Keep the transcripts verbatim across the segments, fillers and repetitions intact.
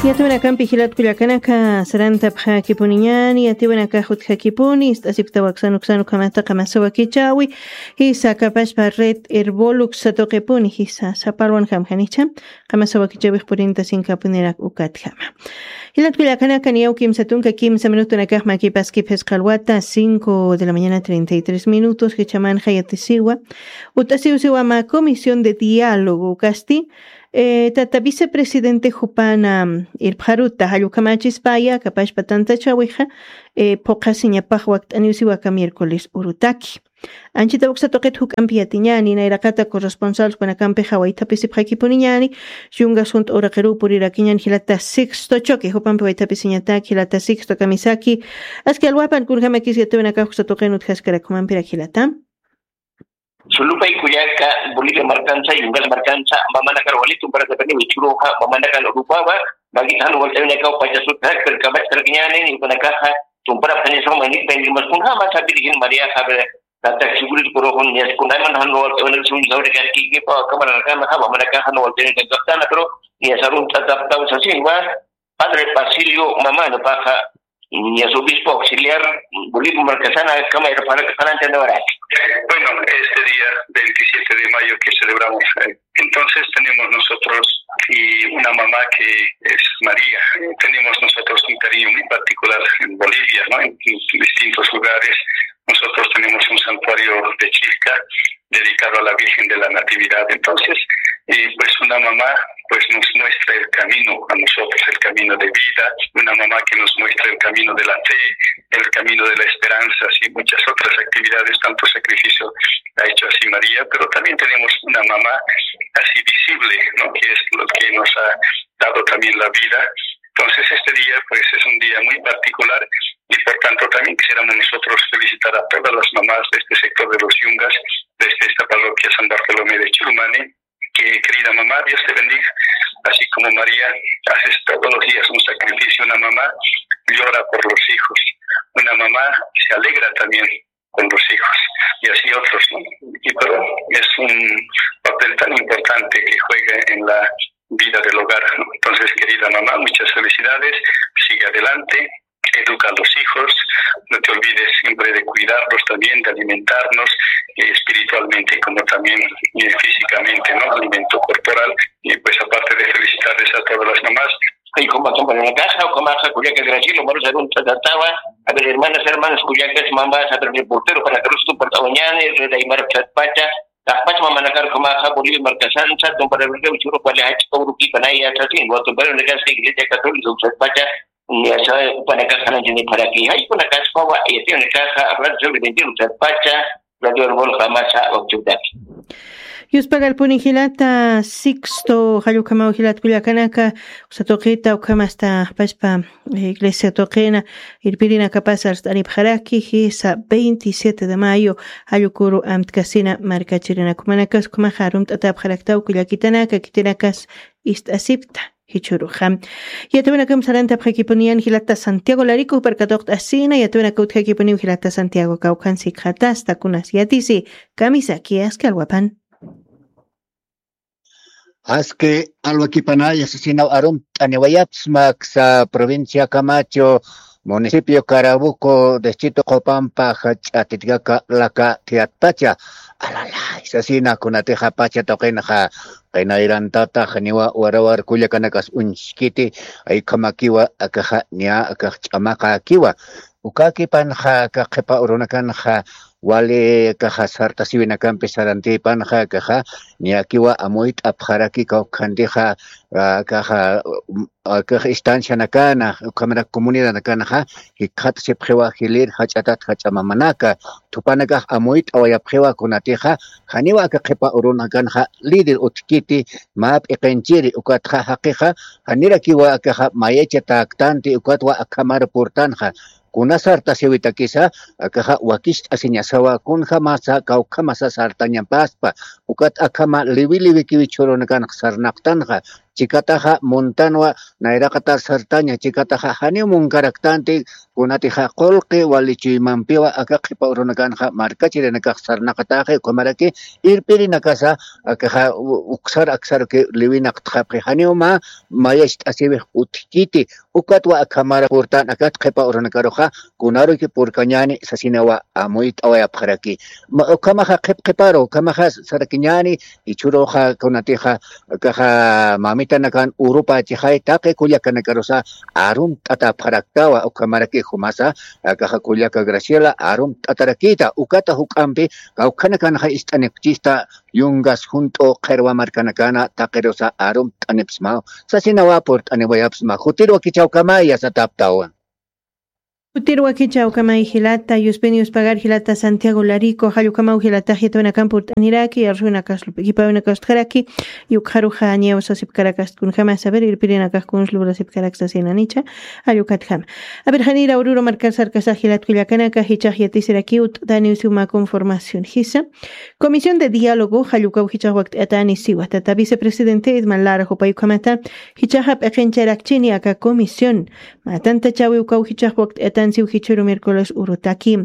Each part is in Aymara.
Yatiwanakampi jilat kullakanaka, sarantapxakipuniñani, yatiwanakax utjakipuni, ist'asipktawa aksanuksanukhamata qamasa wakichawi, jisa kapashpa red Herbolux satuqipuni, jisa sapalwan jamjanicha, qamasa wakichawix purinta sinkapunirak ukatjama. Jilat kullakanaka, niyaw kimsa tunka kimsa minutunakax makipaskip jisqalwata, cinco de la mañana, treinta y tres minutos, jichamanxa yatisiwa, ut'asiwsiwa mä comisión de diálogo, kasti, Eh, tata vicepresidente jupana, mm, irpxaruta, jallukamachispaya, kapashpa tantachawixa, eh, phuqasiñapax wakt'aniwsiwaka miércoles urutaki. Anchita uksa tuqit juk'ampi yatiñani, nayraqata corresponsal kunakampixa waythapisipxakipuniñani, yungas junt'a uraqiruw purirakiñan jilata Sixto Choque, jupampi waythapisiñataki, jilata Sixto kamisaki, aski alwapan kunjamakis yatiwanakax uksa tuqin utjaskarak jumampirak jilata. Sulupay kullaka, Bolivia markansa, Yungas markansa, mamanakar walitum para sapani wichuruxa, mamanakar urupawa, magit jan walt'awinakaw pachasut jakpir kamachkarkiñani, nikunakaxa, tumpara phañasuma, nik pendimas kunjama sapirigin María Javier, tatak sigurit kuruxun, nias kunaman jan walt'awinakasun saurikakikipa, kamarakanxa, mamanakaxa, jan walt'awinakaw kaptana, pero nias arun tataptaw sasinwa, Padre Basilio Mamano paja, ñas obispo auxiliar Bolivia Marcasana, Cámara para Casanante de Baraki. Bueno, este día veintisiete de mayo que celebramos, eh, entonces tenemos nosotros y una mamá que es María. Eh, tenemos nosotros un cariño muy particular en Bolivia, ¿no? En, en distintos lugares. Nosotros tenemos un santuario de Chilca dedicado a la Virgen de la Natividad. Entonces, eh, pues una mamá, pues nos muestra el camino a nosotros, el camino de vida, una mamá que nos muestra el camino de la fe, el camino de la esperanza, y muchas otras actividades, tanto sacrificio ha hecho así María, pero también tenemos una mamá así visible, ¿no? Que es lo que nos ha dado también la vida. Entonces, este día, pues, es un día muy particular y, por tanto, también quisiéramos nosotros felicitar a todas las mamás de este sector de los Yungas, desde esta parroquia San Bartolomé de Chirumani, que, querida mamá, Dios te bendiga. Así como María, haces todos los días un sacrificio, una mamá llora por los hijos, una mamá se alegra también con los hijos, y así otros, ¿no? Y pero es un papel tan importante que juega en la vida del hogar, ¿no? Entonces, querida mamá, muchas felicidades, sigue adelante, educa a los hijos, no te olvides siempre de cuidarlos también, de alimentarnos, eh, espiritualmente como también, eh, físicamente, ¿no? Alimento corporal, y pues aparte de felicitarles a todas las mamás, Ay, como, como en la casa, o como, ajá, cuyaca, Graciela, vamos a hacer un tratatawa. A ver, hermanas, hermanos, cuyaca, es mamá, a ver, reportero, para que los tu portadoñane, red Aymara, Pacha, la Pacha, mamá, la carco, maja, Bolivia, Marcasanza, tum para ver, churro, cuál es, churro, aquí, para allá, así, no, tum para ver, que iglesia católica, Pacha, ni asa, para acá, para allá, ni para aquí. Ay, con la casa, y tiene caja, hablar sobre vender, Pacha, Yuspagalpuni jilata Sixto, jallukamaw jilat kullakanaka, usa tuqita, ukhamasta pachpa, eh, iglesia tuqina, irpirinakapas arst'anipxaraki, jisa veintisiete de mayo, jallukuru amtkasina markachirinakumanakas, ukhamaxa arumt'atapxaraktaw kullakitanaka, kitinakas ist'asipkta. Jichhuruxa. Yatawinakam sarantapxakipuniyan jilata Santiago Larico, jupar katuqt'asina, yatawinaka utjakipuniw jilata Santiago, kawkhan sikxatasta kunas yatisi, kamisaki aski alwapan. Aski alwakipanaya sasinaw arumt'aniwayapsma aksa provincia Camacho, municipio Carabuco, distrito Qopampa, jach'a titkaka laka tiyatpacha. Alalay, sasina kunatixa pacha tuqinxa, qinayrantatax niwa warawar kullakanakas uñskiti, aykhamakiwa akaxa niya akax ch'amaqakiwa. Ukakipanxa aka qhipa urunakanxa, wali akaxa sartasiwinakampi sarantipanxa akaxa, niyakiwa amuyt'apxaraki kawkhantixa, akaxa, akax estancianakana, ukhamarak comunidadnakanxa, jikxatasipxiwa jilïr jach'atat jach'a mamanaka, thupanakax amuyt'awayapxiwa kunatixa, janiwa aka qhipa urunakanxa, líder utjkiti, mä p'iqinchiri, ukatxa jaqixa, janirakiwa akaxa mayachatäktanti, ukatwa akhamar purtanxa, kuna sartasiwitakisa, akaxa wakicht'asiñasawa, kunjamasa, kawkhamasa sartañapaspa, ukat akhama liwi liwikiw jichhürunakanx sarnaqtanxa, chikataxa muntanwa, nayraqatar sartaña chikataxa janiw munkaraktanti, kunatixa qullqi wali chuymampiwa aka qhipa urunakanxa markachirinakax sarnaqataxi, ukhamaraki irpirinakasa akaxa u-, uksar aksarki liwinaqtxapxi, janiw mä mayacht'asiwix utjkiti, ukatwa akhamara purtan akat qhipa urunakaruxa, kunaruki purkañäni sasinawa amuyt'awayapxaraki. Ma-, ukhamaxa qhip qhiparu, ukhamaxa sarakiñäni, jichhüruxa kunatixa, akaxa mamitanakan urupächixay taqi kullakanakarusa arumt'atapxaraktawa, ukhamaraki jumasa, akaxa kullaka Graciela arumt'atarakïta, ukata juk'ampi, kawkhanakanxa ist'anipchista, yungas junt'u qhirwa markanakana taqirusa arumt'anipsmaw, sasinawa purt'aniwayapsma, jutirwa kichawkamaya sataptawa. Jutirwa kichawkamay jilata, yuspin yuspagar jilata Santiago Larico, jallukamaw jilata jitwinakan purt'aniraki, arsuwinakas lup'ikipawinakas utjaraki, yukxaruxa ñaw sasipkarakast kunjama saber irpirinakax kuns lurasipkarak sasinanicha, jallukatjama. A ver, janira ururu markar sarkasax jilat kullakanaka, jichax yatisirakiw t'aniw siwma conformación jisa. Comisión de diálogo, jallukaw jichax wakt'atani siwa. Tata vicepresidente Edman Lara jupay ukhamata, jichaxa p'iqincharakchini aka comisión. Mä tantachawi ukaw jichax wakt'atan siw jichhüru miércoles urutaki.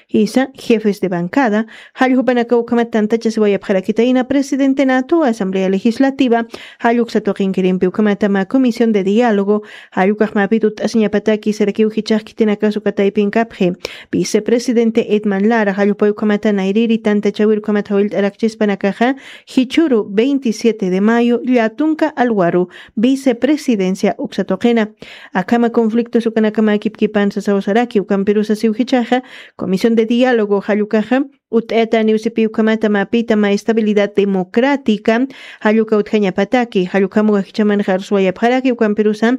Jisa, jefes de bancada, jalljupanakaw ukhamat tantachasiwayapxarakitayna presidente natu Asamblea Legislativa, jalluksa tuqinkirimpi ukhamata mä comisión de diálogo, jallukax mäpit utt'asiñapataki sarakiw jichax khitinakas uka taypinkapxi. Vicepresidente Edman Lara, jallupay ukhamata nayriri tantachawir ukhamat jawillt'arakchispanakaxa, jichhüru veintisiete de mayo, llatunka alwaru, vicepresidencia uksa tuqina. Akhama conflictos ukanakama kipkipan sasaw saraki, ukampirusa siw jichaxa, comisión de diálogo, jallukaxa, utt'ayataniw sipi ukhamata mäpita mä estabilidad democrática, jalluka utjañapataki, jallukam uka jichhamanxa arsuwayapxaraki, ukampirusa,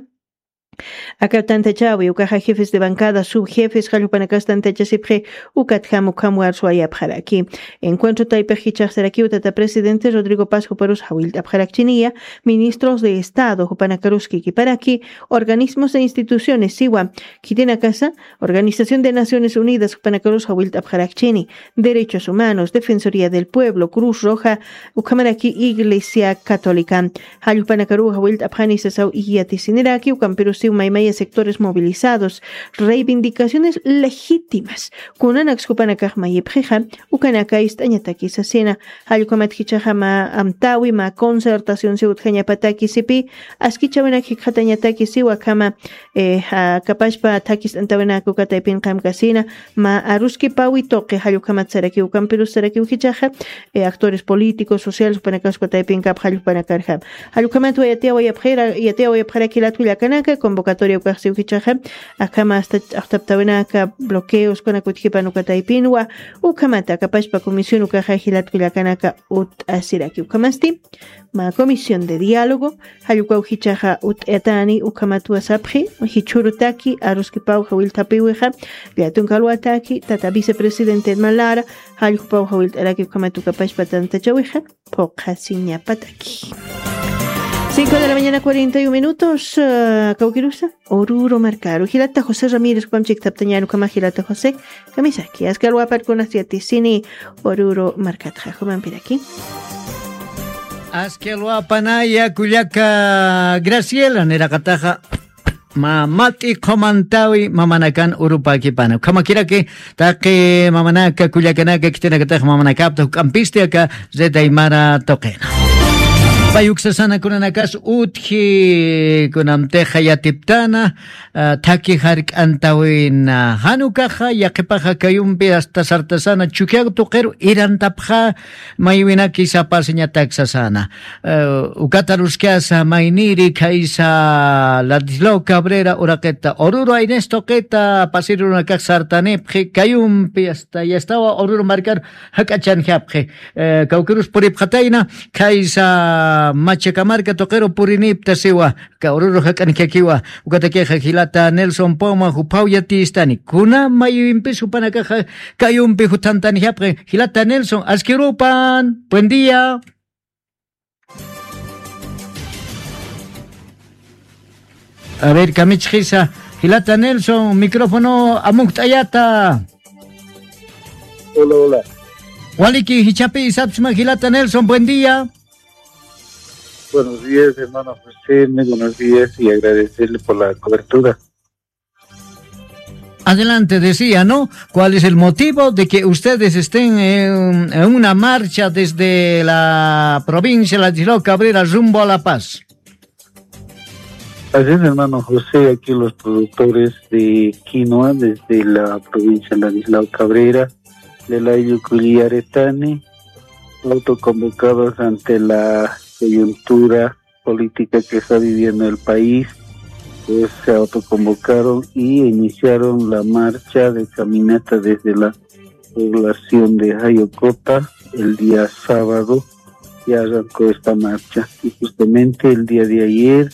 aka tantachäwi, ukaxa jefes de bancada, subjefes, jallupanakas tantachasipxi, ukatjam ukham arsuwayapxaraki. Encuentro taypix jichax sarakiw tata presidente Rodrigo Paz juparus jawillt'apxarakchiniya, ministros de Estado, jupanakarus kikiparaki, organismos e instituciones, siwa, khitinakasa, Organización de Naciones Unidas, jupanakarus jawillt'apxarakchini, Derechos Humanos, Defensoría del Pueblo, Cruz Roja, ukhamaraki Iglesia Católica. Jallpanakaruw jawillt'apxani sasaw yatisiniraki, ukampirusiw maymaya sectores movilizados, reivindicaciones legítimas. Kunanaks jupanakax mayipxixa, ukanaka ist'añataki sasina. Jallkamat jichhaxa mä amtäwi, mä concertación siw utjañapataki sipi, askichäwinak jikxatañataki siwa akhama, eh, ja, kapachpa thakist'antäwinak uka taypin qamkasina, mä aruskipäwi tuqi, jallkamat sarakiw, ukampirus sarakiw jichhaxa, eh, actores políticos, sociales, jupanakas uka taypinkap jallpanakarjam. Jallkamatwa yatiyawayapxira-, yatiyawayapxaraki jilat kullakanaka, convocatoria ukax siw jichhaxa, akhama hasta ch'axtaptäwinaka, bloqueos, kunak utjipan uka taypinwa, ukhamata kapachpa comisión ukaxa jilat kullakanaka utt'asiraki. Ukhamasti, mä comisión de diálogo, jallkaw jichhaxa utt'ayatani, ukhamatwa sapxi, jichhürutaki, aruskipaw jawillt'apiwixa, llatunka alwataki, tata vicepresidente Edman Lara, jallpaw jawillt'araki, ukhamat uka pachpa tantachäwixa, phuqhasiñapataki. Cinco de la mañana, cuarenta y un minutos, eh, kawkirusa, Oruro markaru. Jilata José Ramírez, jupam chiktaptañäni, ukhama jilata José, kamisaki. Aski alwaparkunas yatisini Oruro markatxa, jumampiraki. Aski alwapanaya kullaka Graciela, niraqataxa mä mat'i qhumantäwi mamanakan urupäkipana. Ukhamakiraki taqi mamanaka, kullakanaka, khitinakatax mamanakapta juk'ampisti aka Red Aymara tuqina. Pay uksasana kunanakas utji, kunamtixa yatiptana, ah, thakhi jark'antäwina. Jan ukaxa, yaqhipaxa kayumpi hasta sartasana Chukiyawu tuqiru irantapxa, maywinaki sapasiñatak sasana. Eh, ukat aruskasa mayniri khaysa Ladislao Cabrera uraqita, Oruro Aines tuqita, pasirunakax sartanipxi, kayumpi hasta yastawa Oruro markaru jak'achanjapxi. Eh, kawkirus puripxatayna, khaysa Machacamarca tuqiru purinipta siwa, ka Oruro jak'anjakiwa, ukatakixa jilata Nelson Poma juphaw yatistani. Kuna maywimpis jupanakaxa kayumpi juthantanjapxi, jilata Nelson, aski urupan, buen día. A ver, kamichxisa, jilata Nelson, micrófono amukt'ayata. Hola, hola. Waliki, jichhapi sapsma, jilata Nelson, buen día. Buenos días, hermano José, muy buenos días y agradecerle por la cobertura. Adelante, decía, ¿no? ¿Cuál es el motivo de que ustedes estén en, en una marcha desde la provincia de Ladislao Cabrera rumbo a La Paz? Así es, hermano José, aquí los productores de quinoa desde la provincia de Ladislao Cabrera, de la Yuculiaretani, autoconvocados ante la coyuntura política que está viviendo el país, pues se autoconvocaron y iniciaron la marcha de caminata desde la población de Jayocota el día sábado. Ya arrancó esta marcha y justamente el día de ayer,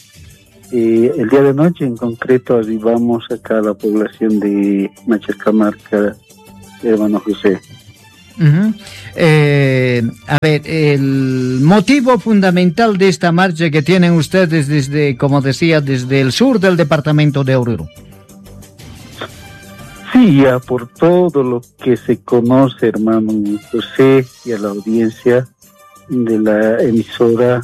eh, el día de noche en concreto, arribamos acá a la población de Machacamarca, hermano José. Ujú. Eh, a ver, el motivo fundamental de esta marcha que tienen ustedes desde, como decía, desde el sur del departamento de Oruro. Sí, ya por todo lo que se conoce, hermano José, y a la audiencia de la emisora,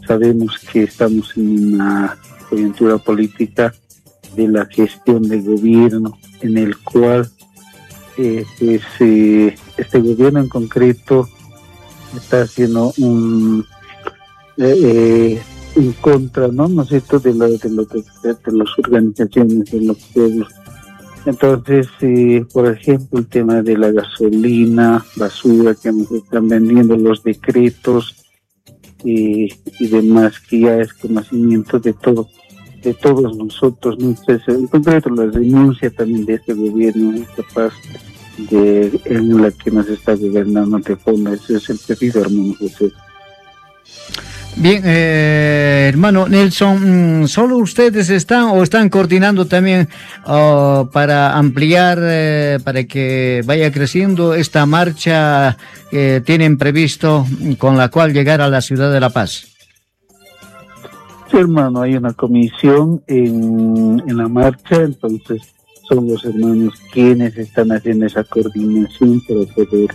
sabemos que estamos en una coyuntura política de la gestión de gobierno en el cual, eh, pues, eh, este gobierno en concreto está haciendo un, eh, eh, en contra, ¿no? ¿No es cierto? De la, de lo que, de las organizaciones, de los pueblos. Entonces, eh, por ejemplo, el tema de la gasolina, basura que nos están vendiendo, los decretos, y, y demás, que ya es conocimiento de todo, de todos nosotros, ¿no? Entonces, en concreto, la renuncia también de este gobierno incapaz de, en la que nos está gobernando de fondo. Ese es el pedido, hermano José. Bien, eh, hermano Nelson, mm, ¿solo ustedes están o están coordinando también, oh, para ampliar, eh, para que vaya creciendo esta marcha que tienen previsto, mm, con la cual llegar a la ciudad de La Paz? Sí, hermano, hay una comisión en, en la marcha, entonces son los hermanos quienes están haciendo esa coordinación para poder,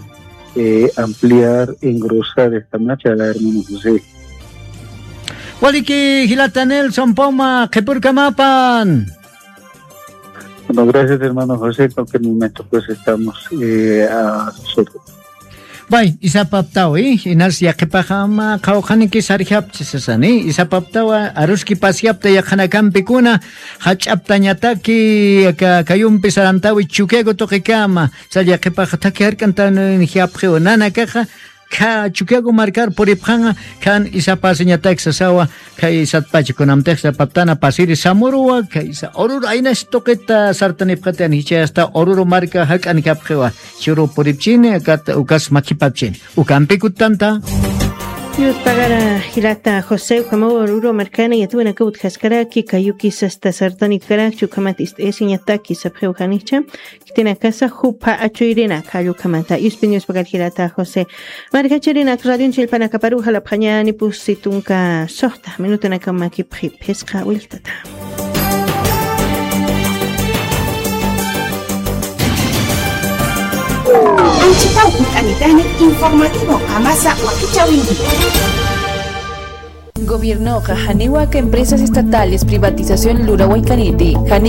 eh, ampliar, engrosar esta marcha, hermano José. Waliki, jilata Nelson Poma, qhipurkamapan. Bueno, gracias, hermano José, en cualquier momento, pues, estamos, eh, a sus órdenes. Bay, isapaptaw, eh, inas yaqhipaxama qhawqhaniki sarjapchi sasani, isapaptawa aruski pasyapta yaqhanakampikuna, jach'aptañataki, ka-, kayumpi sarantawi Chukiyago tuqikama, sa yaqhipaxa thaki jark'antan jiapxiwa nanakaxa, kha Chukiyago markar puripxanqa, khan isapasiñatak sasawa, khay satpacha kunamtix sapaptana pasiri Samuruwa, khay sa Oruro aynas tuqita sartanipxatian jichhayasta Oruro marka jak'an japxiwa. Churu puripchini, akat ukas makhipapchini. Ukampi kuttanta. Yutpagara jilata José, ukhamaw Oruro markana yatwanaka utjaskaraki, kayuki sasta sartanipkarakchi, ukhamat ist'ayasiñataki sapxiw janicha. Khitinakasa jupha achuyrinak jallukhamata. Yuspin yuspagar jilata José. Markachirinak radion chillpanakaparu jalapxañani pusi tunka suxta minutunakama kipxi phisqa willtata. Anchitaw hunt'anitani informativo qamasa wakichäwinki. Gobiernoxa janiw aka empresas estatales privatización lurawaykaniti, janiw